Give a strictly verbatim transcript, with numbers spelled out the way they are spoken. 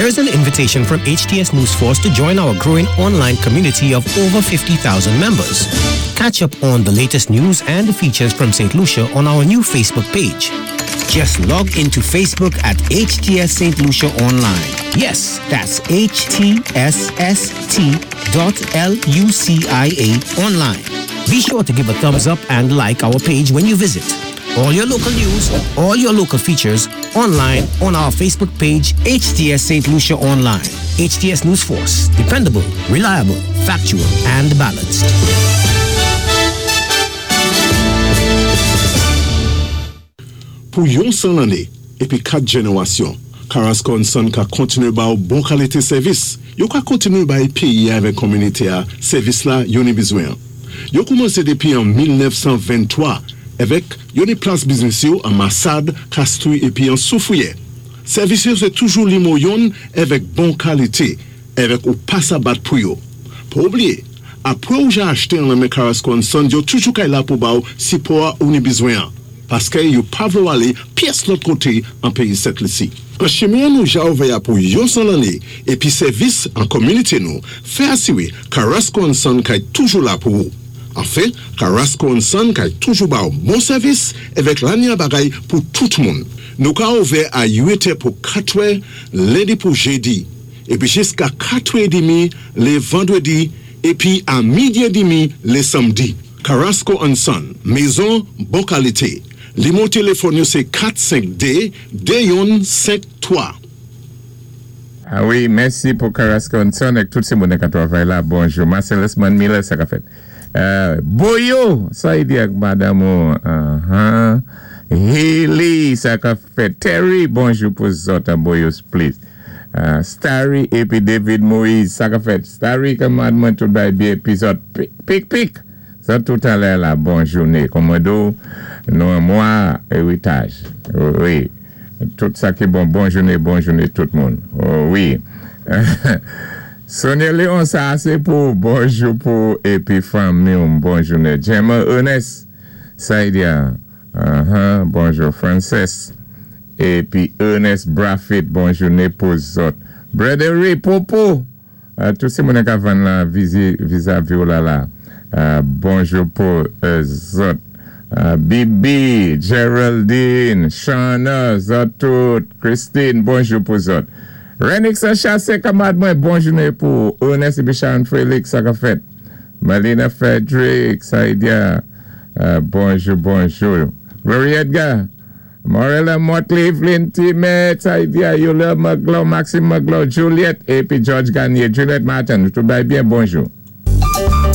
Here's an invitation from H T S News Force to join our growing online community of over fifty thousand members. Catch up on the latest news and features from Saint Lucia on our new Facebook page. Just log into Facebook at H T S Saint Lucia Online. Yes, that's H T S S T dot L U C I A online. Be sure to give a thumbs up and like our page when you visit. All your local news, all your local features, online on our Facebook page, H T S Saint Lucia Online. H T S News Force, dependable, reliable, factual, and balanced. Pou yon san lanné, épi kat jénéwasyon, Carrasco and Son ka kontiné ba ou bon kalité sèvis. Yo ka kontiné bay péyi avèk kominité a sèvis la yo ni bizwen. Yo koumansé dépi an mil nèf san venntwa avèk yo ni plas biznis yo an Massade, Castries épi an Soufrière. Sèvis yo sé toujou nimewo youn avèk bon kalité, avèk ou pa sa bat pou yo. Pa oubliyé, apwé ou ja achté an men Carrasco and Son, yo toujou kay la pou ba ou sipò ou ni bizwen an. Paské yo pa vlé ou alé pyès lòt koté an péyi Sent Lisi. An chimen nou ja ouvè a pou yon san lanné, épi sèvis an kominité nou, fè asiwé Carrasco and Son kay toujou la pou ou. Anfen, Carrasco and Son kay toujou ba ou bon sèvis avèk lanya bagay pou tout moun. Nou ka ouvè a uit è pou katwè, lendi pou jédi, épi jiska katwè édmi lé vandwédi, épi a midi édmi lé sanmdi. Carrasco and Son, mézon bon kalité. Nimewo téléfòn yo sé kat senk dé de youn senk twa. Ah wi, mèsi pou Carrasco and Son ak tout sé moun ka twavay la. Bonjou. Marcellus Miller, sa ka fèt. Euh, Boyo, sa i di ak madanm ou. Uh-huh. Haley, sa ka fèt. Terry, bonjou pou zòt an Boyo, please. Uh, Starry épi David Moïse, sa ka fèt. Starry, kanmad mwen tout bay byen, épi zòt, pik, pik, pik. Sa tout alè la, bon jouné. Kòmòdo, nou an mwa éritaj. Wi. Tout sa ki bon, bon jouné, bon jouné tout moun. Oh, wi. Sonia Léon, sa sé pou, bonjou pou, épi fanmi, bon jouné. Gemma Ernest, sa i di a, uh-huh, bonjou Frances. Épi Ernest Braffett, bon jouné pou zòt. Brother Ray, Popo, uh, tout sé moun ka vann la vizi, vizavi ou la la. Uh, bonjou pou uh, zòt. Uh, Bibi, Geraldine, Shana, zòt tout, Christine, bonjou pou zòt. Renix Chassé, kanmad mwen, bon jouné pou Ernest épi Sharon Félix, sa ka fèt. Malina Frederick, sa i di a, uh, bonjou, bonjou. Rory Edgar, Morella Motley, Evelyn Timet, sa i di a, Yola Maglo, Maxime Maglo, Juliette, épi George Garnier, Juliette Martin, tout bay byen, bonjou.